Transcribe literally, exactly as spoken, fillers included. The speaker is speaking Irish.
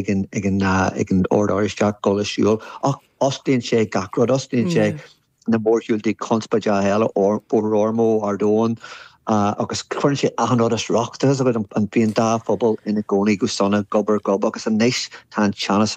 ag an ag an ag an Ord Oráisteach dul ag siúl ach osclaíonn sé gach rud osclaíonn sé na mórshiúltaí conspóideacha eile Bóthar Ormeau Ard Eoin uh, agus cuireann sé achan rud as riocht an bíonn dá phobal ina gcónaí go sona gob ar gob agus anois tá an teannas